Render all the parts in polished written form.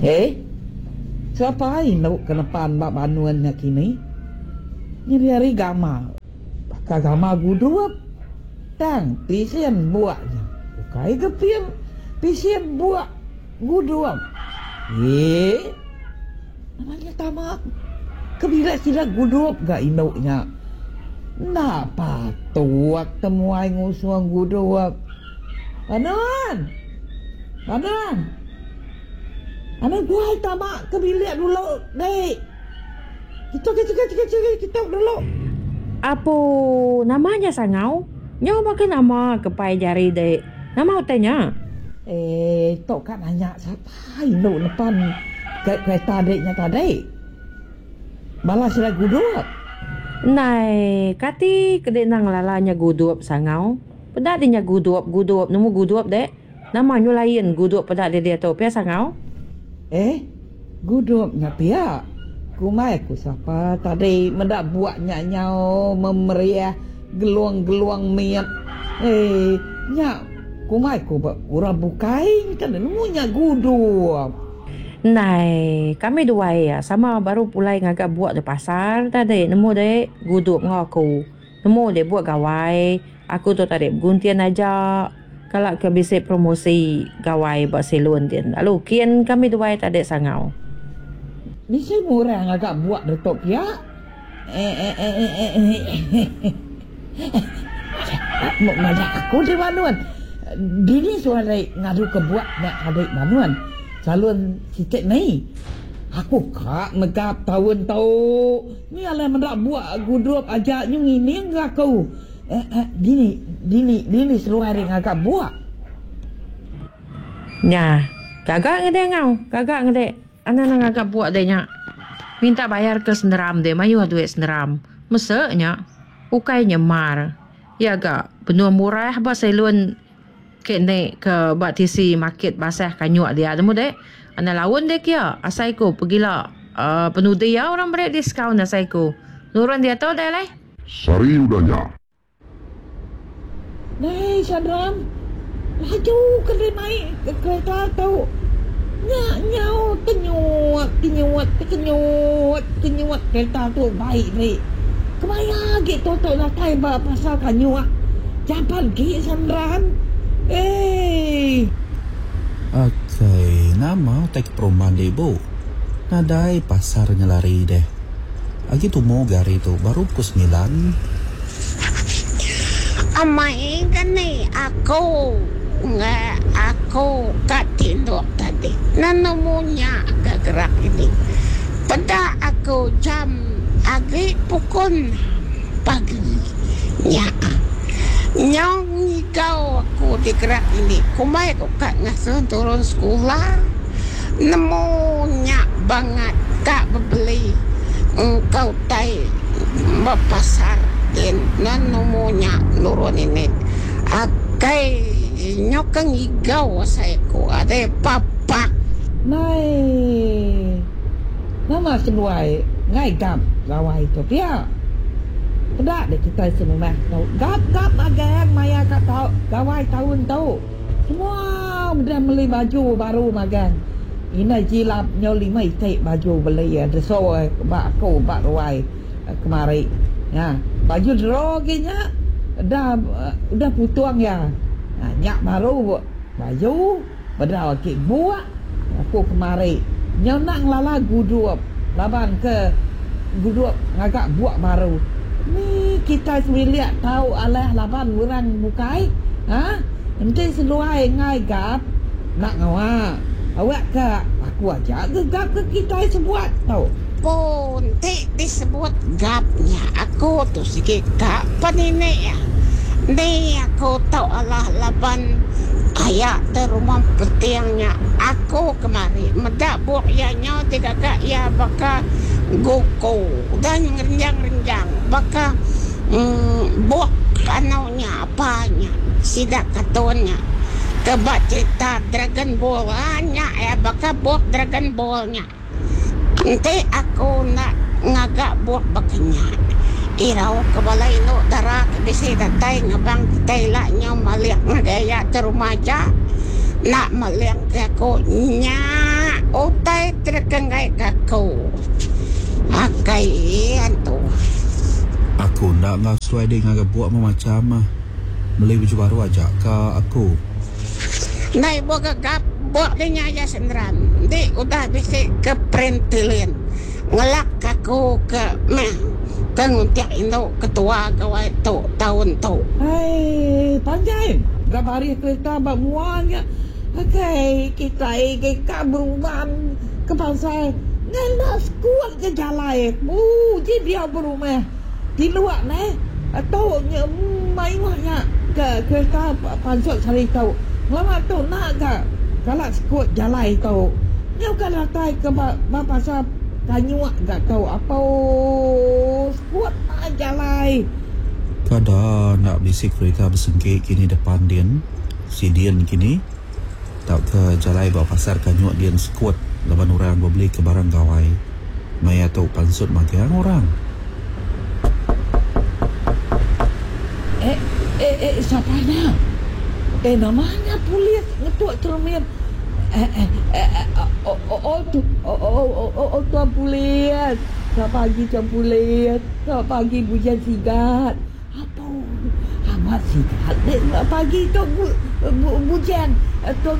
Eh? Sapa indu ke nepan ba banun nya kini? Nyadi ari gamal. Baka gamal gudup. Tang pisin buak nya ukai ga pin pisin buak gudup. Eh? Nama nya tama ke bilik sida gudup ga indu nya. Enda patut temuai ngusung gudup. Banun! Banun! Anang guai tama ke bilik dulu dek. Kitu kitu kitu kitu kitu dulu. Apu nama nya sangau? Nyau baka nama ke pai jari dek. Nama utai nya? Eh tu ka nanya sapa indu nepan kereta dek nya tadi. Bala sida gudup. Ndai kati ke dek nang ngelala nya gudup sangau. Peda dek nya gudup gudup nemu gudup dek. Nama nyu lain gudup peda dek diatu pia sangau. Eh gudup nya pia. Kumbai aku sapa tadi meda buak nya nyau memeriah gelung-gelung mit. Eh nya kumbai ku ba orang bukai nya nemu nya gudup. Ndai kami duai iya sama baru pulai ngaga buak di pasar tadi nemu dek gudup enggau aku. Nemu dek buak gawai aku tu tadi beguntin aja kala ke bisi promosi gawai ba salon din lalu kin kami duai tadi sangau. Bisi murah ngaga buak ditu pia. Madah aku deh Banun. Dini suah deh ngadu ke buak nya tadi Banun. Salon siti ni. Aku ka mega taun tu. Ni alai meda buak gudup aja nyu ngining ga aku. Dini dini dini seduai ri ngaga buak. Nya. Gaga ngede ngau. Gaga ngede. Anang nang ngaga buak dek nya. Minta bayar ke senderam dek mayuh duit senderam. Mese nya. Ukai nya mar. Iya ga benung murah ba salon ke ende ke ba tisi market basah kanyuk dia nemu dek. Anang laun dek kia asai ku pegila uhh penudi iya orang meri diskaun asai ku. Nurun diatu deh alai. Sehari udah nya. Dai Sadran, laju ke deh mai kereta tu. Nya nyau tenyut tenyut tekenyut tenyut kereta tu bai deh. Kemaya agi tu tu datai ba pasar kanyuk. Jampat agi Sadran. Eii. Akai, nama utai ke perumban deh ibu? Nadai pasar nyelari deh. Agi tumu ga hari tu baru pukul semilan. Amai ga ni aku nge aku ka tinduk tadi nemu nya ga gerak ini. Peda aku jam agi pukul enam pagi nya. Nyau ngigau aku digerak ini kumbai ku ka ngasuh turun sekula. Nemu nya bangat ka bebeli engka utai ba pasar din nan nemu nya nurun ini. Akai nyau ka ngigau asai ku adai papak. Nai nama seduai ngai gap gawai tu pia. Peda deh kitai serumah tu gap gap magang maya ka tau gawai taun tu. Semua udah meli baju baru magang. Indai jilap nyau lima iti baju beli iya deso ba aku ba ruai kemari. Nya baju dero agi nya dah udah putung iya. Nya baru baju bedau agi buk aku kemari. Nyau enda ngelala gudup laban ke gudup ngaga buk baru. Ni kitai sebilik tau alah laban orang bukai ha enti seduai enggai gap enda ngawa awak ka aku aja ke gap ke kitai sebuat tu. Pun ti disebut gap nya aku tu sigi ka peninik iya. Ni aku tau alah laban aya te rumah peting nya aku kemari meda buk iya nyau digaga iya baka Goku udah ngerenjang-renjang baka buk anu nya apa nya sida kartun nya ke ba cerita Dragon Ball aa nya iya baka buk Dragon Ball nya. Enti aku enda ngaga buk baka nya irau ke bala indu dara ke bisi datai ngebang kitai ila nyau malik ngagai iya ke rumah aja enda meling ke aku nya. Utai ti deka enggai ka aku. Akai antu. Aku enda enggau seduai dek ngaga buk memacham ah. Meli baju baru aja ka aku. Enda ibuh gegap buk di nya aja senderan. Enti udah bisi ke perintilin ngelak ka aku ke meh ke nguntik indu ketua gawai tu taun tu. Hai panjai ga baris kereta ba mua nya. Akai kitai agi ka berumban ke pasar ngena sekut ke jalai uji diau berumah tinduk neh tu nya mayuh nya ke kereta pansut sehari tu ngelama tu enda ga kala sekut jalai tu nyau ka datai ke ba pasar kanyuk ga tu apo sekut jalai. Kada enda bisi kereta besengki kini depan din. Sidin kini tauka jalai ba pasar Kanyuk din sekut laban orang bebeli ke barang gawai. Maya tu pansut magang orang. Eh eh eh sapa nya? Eh nama nya polis ngetuk cermin eh eh eh oh oh tu oh oh oh tuan polis. Selamat pagi tuan polis. Selamat pagi Bujang Sigat. Apo amat sigat dek pagi tu bujang tu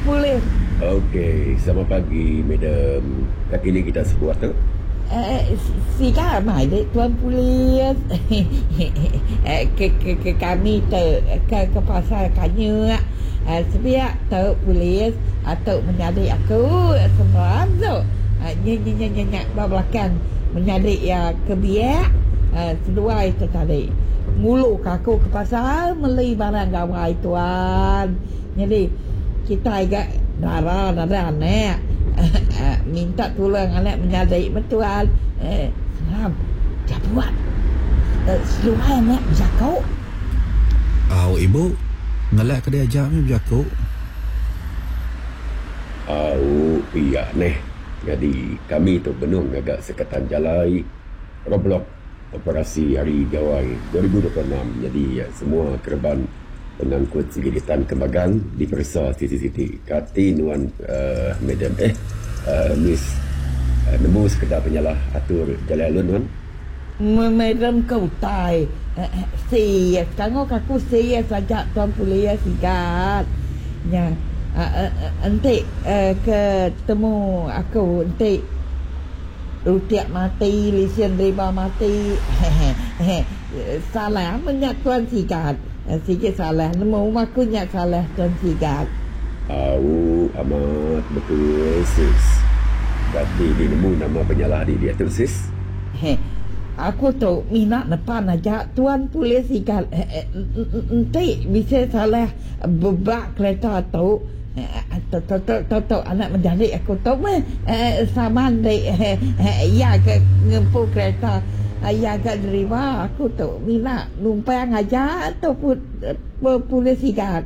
polis. Ok selamat pagi madam kaki ni kita sebuat tu. Sigat amai dek tuan polis ke kami tu ke pasar kanyuk sebiak tu polis tu menyadi aku semeran tu nya nya nya nya ba belakang menyadi iya ke biak seduai tu tadi ngulu ka aku ke pasar meli barang gawai tuan. Nyadi kitai ga dara nadai anak minta tulung anak menyadi meh tuan. Seram jabuat seduai anak bejaku. Au ibu ngelak ka dia aja meh bejaku. Au pia neh. Nyadi kami tu benung ngaga sekatan jalai roadblock operasi Hari Gawai 2026 nyadi semua kereban pengangkut sigi ditan ke magang diperesa siti-siti. Kati nuan uhh madam eh uhh miss nemu sekeda penyalah atur jalai alun nuan? Madam ke utai serius kangau ke aku serius aja tuan polis igat nya enti ke temu aku enti rutik mati lisen deriba mati hehehe salah meh nya tuan sigat sigi salah nemu meh aku nya salah tuan sigat. Au amat betul sis. Kati di nemu nama penyalah di diatu sis? Heh. Aku tu mina nepan aja tuan polis igat enti bisi salah ba kereta tu tu tu anak menyadi aku tu meh saman di iya ke ngempu kereta iya ga deriba aku tu mina numpang aja tu polis igat.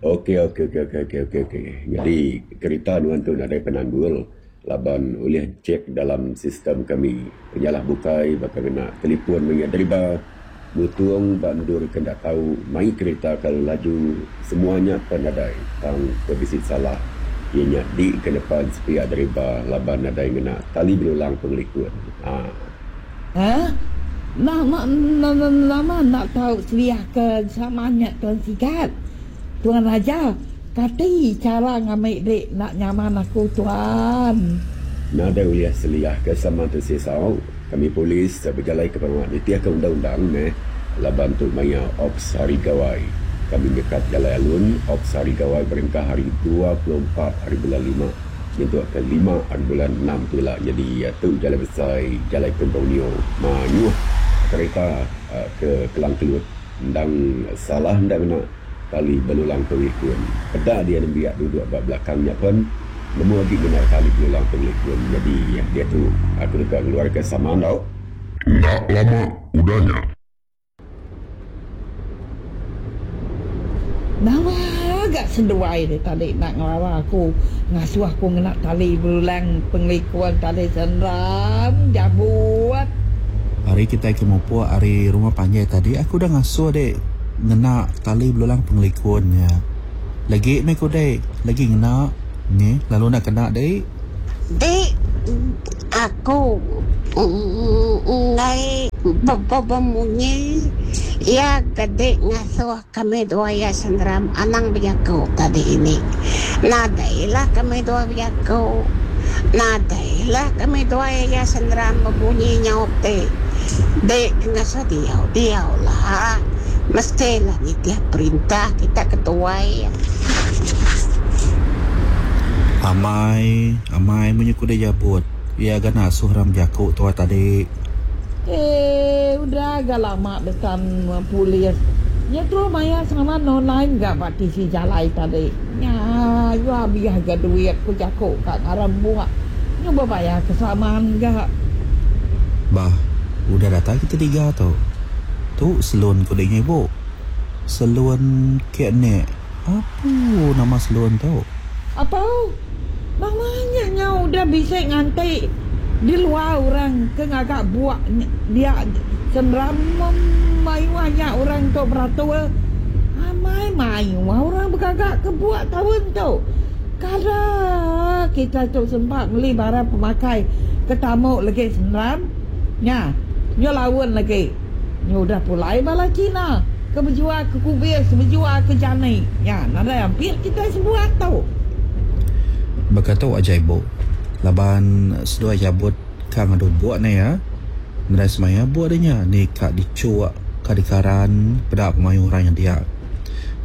Okey okey okey okey okey okey okey nyadi kereta nuan tu nadai penanggul. Laban ulih check dalam sistem kami. Penyalah bukai baka ngena telefon maya deriba, mutung ba endur ke enda tau, mai kerita kelalu laju, semua nya pen nadai tang ke bisi salah iya nya di ke nepan sepiak deriba laban nadai ngena tali belulang pengelikun. Haa. Haa. Nama nama enda tau seliah ke sama nya Tuan Sigat. Tuan Raja, kati chara ngambi dik enda nyaman aku tuan? Nadai ulih seliah ke sama tu sisau, kami polis bejalai ke pengawa nitihka undang-undang meh laban tu maya Ops Hari Gawai. Kami nyekat jalai alun Ops Hari Gawai berengkah hari 24 hari bulan lima nyentuk ke lima hari bulan enam tu ila nyadi tu jalai besai jalai Tun Borneo mayuh kereta ke Kelang Kelut. Endang salah enda ngena tali belulang pengelikun. Peda dia nembiak duduk ba belakang nya pen nemu agi ngena tali belulang pengelikun. Nyadi diatu aku deka ngeluarka saman tau. Enda lama udah nya. Nama ga seduai deh tadi enda ngelawa aku ngasuh aku ngena tali belulang pengelikun tali seram jabut. Ari kitai ke mupuk ari rumah panjai tadi aku udah ngasuh dek ngena tali belulang pengelikun nya. Lagi meh ku dek, lagi ngena neh lalu enda kena dek. Dek aku enggai bemunyi iya ke dek ngasuh kami dua iya senderam anang bejaku tadi ini. Nadai lah kami dua bejaku. Nadai lah kami dua iya senderam bebunyi nyaup dek. Dek ke ngasuh diau, diau lah. Mesti lah nitih perintah kita ke tuai. Amai, amai munyi ku deh jabut. Iya ga nasuh orang bejaku tuai tadi. Eh, udah ga lama besan polis. Nya terus maya saman online ga ba tisi jalai tadi. Nya yu abih ga duit ku jaku ka ngaran buk. Nyu bebayar ke saman ga. Bah, udah datai kita tiga tu. Tu selun ku deh nya ibu. Selun ke nek. Apu nama selun tu. Apau. Nama nya nyau udah bisi nganti di luar orang ke ngaga buk dia senderam mayuh nya orang tu beratur. Amai mayuh orang begaga ke buk taun tu. Kada kitai tu sempat meli barang pemakai ke tamu legi senderam nya nyu laun legi. Nyu udah pulai bala Cina ke bejual ke kubis bejual ke jani nya nadai ampit kitai sebuat tu. Baka tu aja ibu laban seduai jabut ka ngadu buk ne iya nadai semaya buk deh nya ni ka dichuk ka dikaran peda pemayuh orang nya dia.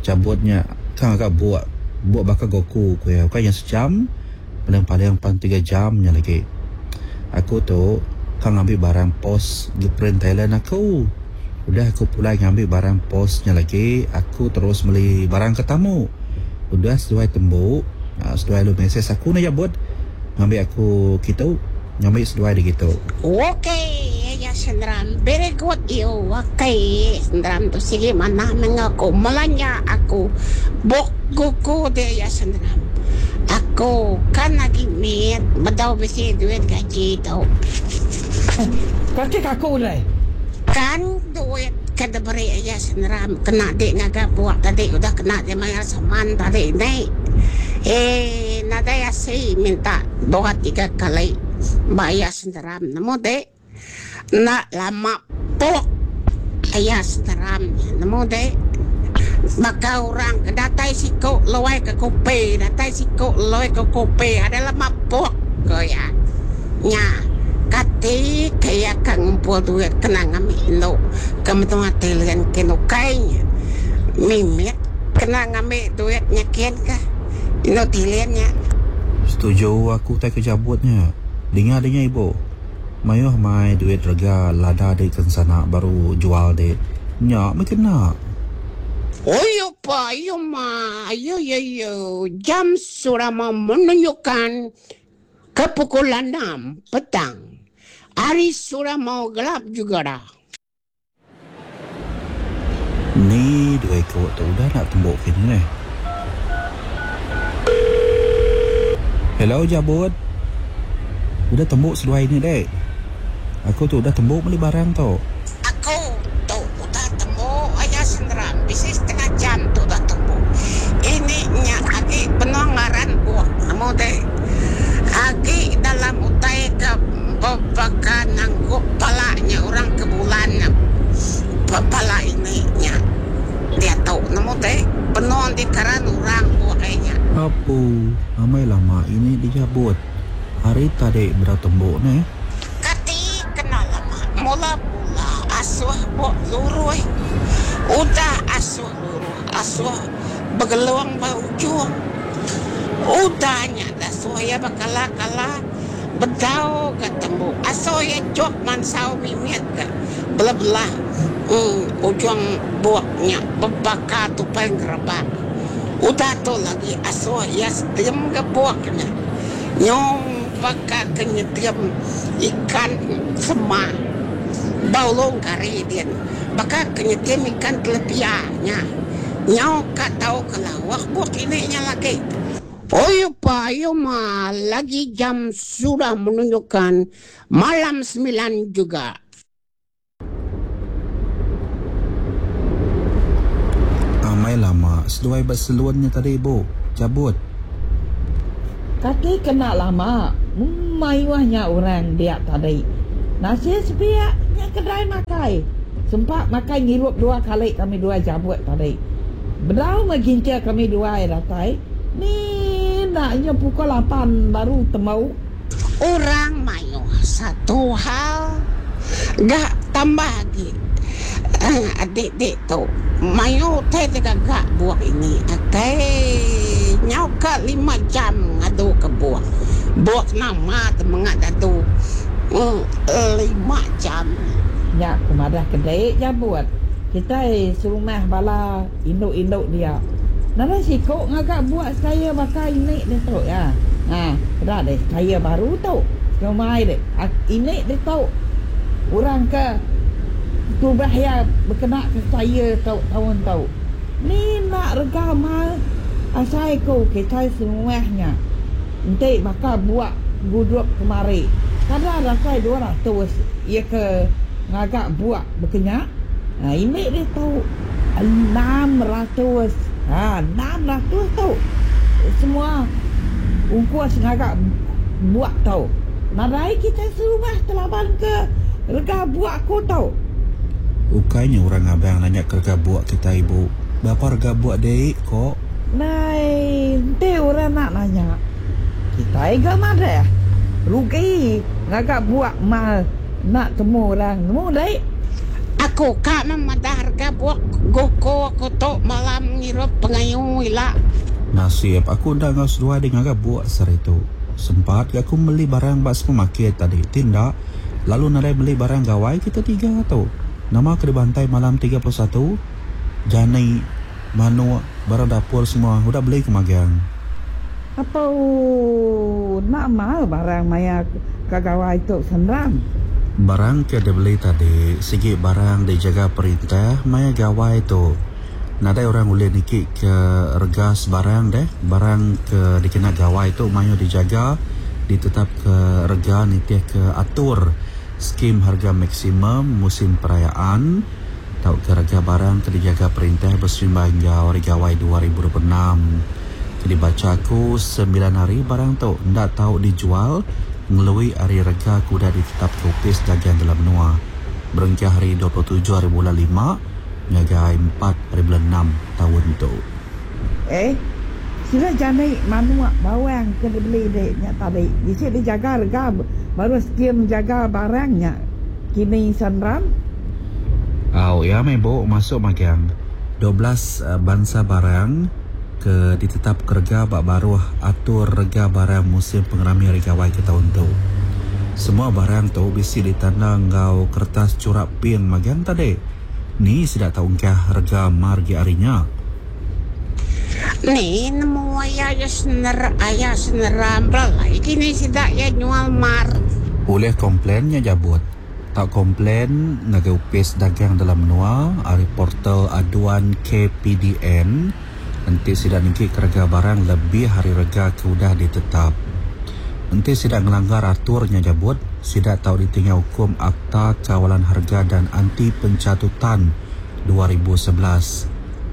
Jabut nya ka ngaga buk buk baka goku ku iya ukai nya sejam paling-paling pan tiga jam nya lagi. Aku tu ka ngambi barang pos gi print Thailand aku. Udah aku pulai ngambi barang pos nya lagi aku terus meli barang ke tamu. Udah seduai tembu seduai lalu mesej aku enda jabut ngambi aku kitu ngambi seduai di kitu. Ok iya senderam very good you ok senderam tu sigi manah meh enggau aku melanja aku bok gugu dia iya senderam aku kan agi mit bedau bisi duit gaji tu. Kati ka aku deh. Kan duit ke diberi iya senderam kena di ngaga buk tadi udah kena di mayar saman tadi ni. Eii nadai asi minta dua tiga kali bayar senderam nemu dek. Enda lama pok iya senderam nya nemu dek. Baka orang ke datai siku luai ke kopi datai siku luai ke kopi ada lama pok ko iya. Nya kati ke iya ka ngumpul duit kena ngambi indu ke menua Thailand kin ukai nya. Mimit kena ngambi duit nya kin ka indu Thailand nya. Setuju aku tai ke jabut nya. Dinga dinga ibu. Mayuh mai duit rega lada dik ke ensana baru jual dik. Nya meh kena. Oyo pa ayo ma ayo yo yo jam sudah mau menunjukkan ke pukul enam petang. Hari sudah mau gelap juga dah. Ni dua iku tu udah enda tembu kini neh. Hello Jabut. Udah tembu seduai ni dek. Aku tu udah tembu meli barang tu. Aku tu udah tembu aya senderam bisi setengah jam tu udah tembu. Ini nya agi benung ngaran buok nemu deh. Agi dalam utai ke bebaka nangkup pala nya orang ke bulan nya pala ini nya diatu nemu deh benung dikaran orang buok ai nya. Apu, amai lama ini dijabut. Hari tadi bedau tembu neh. Kati kena lama mula mula asuh bok lurui udah asuh luruh asuh begelung ba ujung udah nya dasuh iya bekala kala bedau ga tembu asuh iya chok mansau mimit ga belah belah uhh ujung bok nya bebaka tupai ngerebak udah tu lagi asuh iya setim ga bok nya nyau. Baka ke nyetim ikan sema ba ulung kari din. Baka ke nyetim ikan telepia nya. Nyau ka tau ke lawak buk ini nya lagi. Oyo pa ayo ma lagi jam sudah menunjukkan malam sembilan juga. Amai lama. seduai ba salon nya tadi ibu? Jabut. Kati kena lama mayuh nya orang dia tadi. Nasir sepiak nya kedai makai. Sempa makai ngirup dua kali kami duai jabut tadi. Bedau meh gintir kami duai datai ni enda nya pukul lapan baru tembu. Orang mayuh satu hal ga tambah agi adik dik tu mayuh utai digaga buok ini akai nyau ka lima jam ngadu ke buok. Buok nama temenga dadu lima jam. Nya ku madah ke dik jabut kitai serumah bala indu-indu dia. Nadai siku ngaga buak style baka ini ditu iya. Ha, peda deh style baru tu. Sengumai deh ini ditu orang ke tubah iya bekena ke style tu taun tu. Ni enda rega mal asai ku kitai serumah nya. Enti baka buak gudup kemari kada datai 200 iya ke ngaga buak baka nya. Ha, ini ditu. 600 ha 600 tu semua ungkus ngaga buak tu. Nadai kitai serumah telaban ke rega buak ku tu. Ukai nya orang ngabang nanya ke rega buak kitai ibu. Berapa rega buak dei ko? Nai enti orang nak nanya kitai ga madah rugi ngaga buak mal. Enda temu orang nemu dei. Aku ka meh madah rega buk guko aku tu malam ngirup pengayu ila. Nasib aku enda enggau seduai deh ngaga buk sehari tu. Sempat ga aku meli barang ba supermarket tadi ti enda lalu nadai meli barang gawai kita tiga tu. Nama ke dibantai malam 31? Jani, manuk, barang dapur semua udah beli ke magang. Apu, enda mal barang maya ka gawai tu senang. Barang ke dibeli tadi sigi barang dijaga perintah maya gawai tu. Nadai orang ulih niki ke rega sebarang deh. Barang ke dikena gawai tu mayuh dijaga ditetap ke rega nitih ke atur skim harga maksimum musim perayaan tauka rega barang ke dijaga perintah beserimbai enggau Hari Gawai 2026. Ke dibacha aku, semilan hari barang tu enda tau dijual ngelui ari rega ke udah ditetapka Opis Dagang Dalam Menua berengkah hari 27 hari bulan lima ngagai empat hari bulan enam taun tu. Eh, sida jani manuk bawang ke dibeli dik nya tadi bisi dijaga rega baru skim jaga barang nya kini Sandram. Au iya meh bu masuk magang 12 bansa barang ke ditetap ke rega ba baruh atur rega barang musim pengerami Hari Gawai ke taun tu. Semua barang tu bisi ditanda enggau kertas churak pink magang tadi. Ni sida tau engkah rega mar gi ari nya. Ni nemu aya iya sener aya seneram belai kini sida iya nyual mar. Ulih komplen nya jabut. Tau komplen ngagai Opis Dagang Dalam Menua ari portal aduan KPDN enti sida nengki ke rega barang lebih ari rega ke udah ditetap. Enti sida ngelanggar atur nya jabut, sida tau ditinggal ukum Akta Kawalan Harga dan Anti Pencatutan 2011.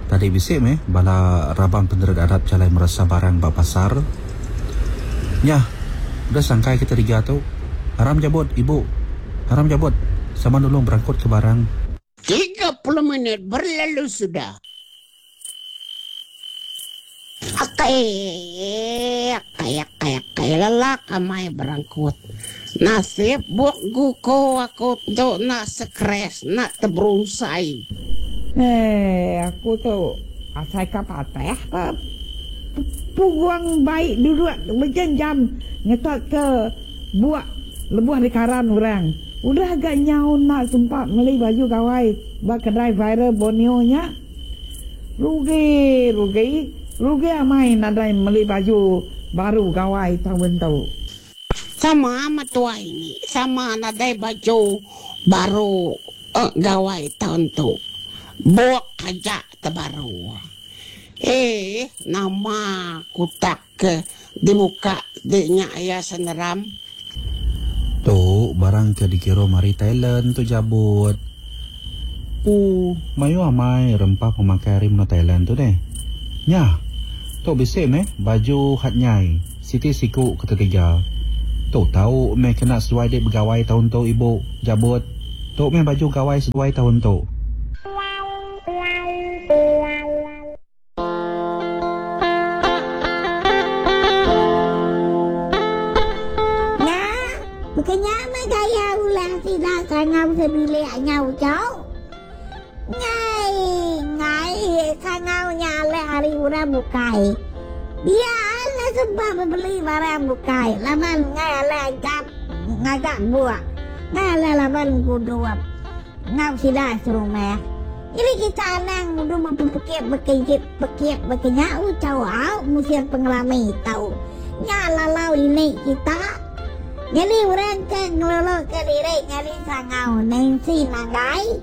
Tadi bisi meh bala raban penerit adat bejalai meresa barang ba pasar. Nyah, udah sangkai kita diga tu. Aram jabut, ibu. Aram jabut. Sama nulung berangkut ke barang. 30 minit berlalu sudah. Akai, akai, akai, akai, lelak amai berangkut. Nasib buk guko aku tu enda sekres, enda teberunsai. Eh, aku tu asai ka patah ka punggung bai duduk bejam-jam ngetat ke buk lebuh dikaran orang. Udah ga nyau enda sempa meli baju gawai ba kedai viral Borneo nya. Rugi, rugi, rugi amai nadai meli baju baru gawai taun tu. Sama metua ini, sama nadai baju baru gawai taun tu. Buk aja tebaru. Eeh nama kutak ke dibuka di nya iya seneram. Tu barang ke dikirum ari Thailand tu jabut. Pu mayuh amai rempah pemakai ari menua Thailand tu deh. Nyah! Tu bisi meh baju hat nyai siti siku ketetiga. Tu tau meh kena seduai dik begawai taun tu ibu, Jabut. Tu meh baju gawai seduai taun tu. Nya, baka nya meh gaya ulah sida sangau sebilik nya uchu. Ngai, ngai sangau nya alih ari orang bukai. Dia alih sumpah bebeli barang bukai laban ngai alih gap ngaga buk. Ngai alih laban ngudup enggau sida serumah. Jadi kita anang udu bepekit bekejit pekit baka nya uchu au musin pengerami tu. Nya lalau ini kita. Nyadi orang ke ngeluluka diri nyadi sangau Nancy Nanggai,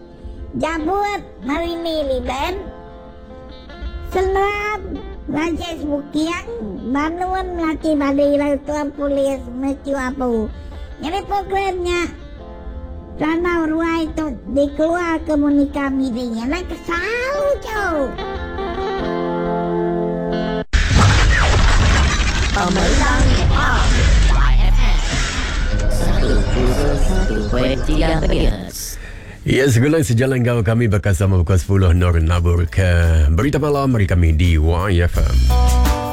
Jabut Marini Liben, Senram Rajesh Buking, Banun Melati Badi lalu Tuan Polis Matthew Abu. Nyadi program nya Randau Ruai tu dikeluarka Monica Midi. Anang kesal uchu. Ya, segulai sejalan enggau kami baka sama pukul 10 Nur nabur ke berita malam ari kami di YFM.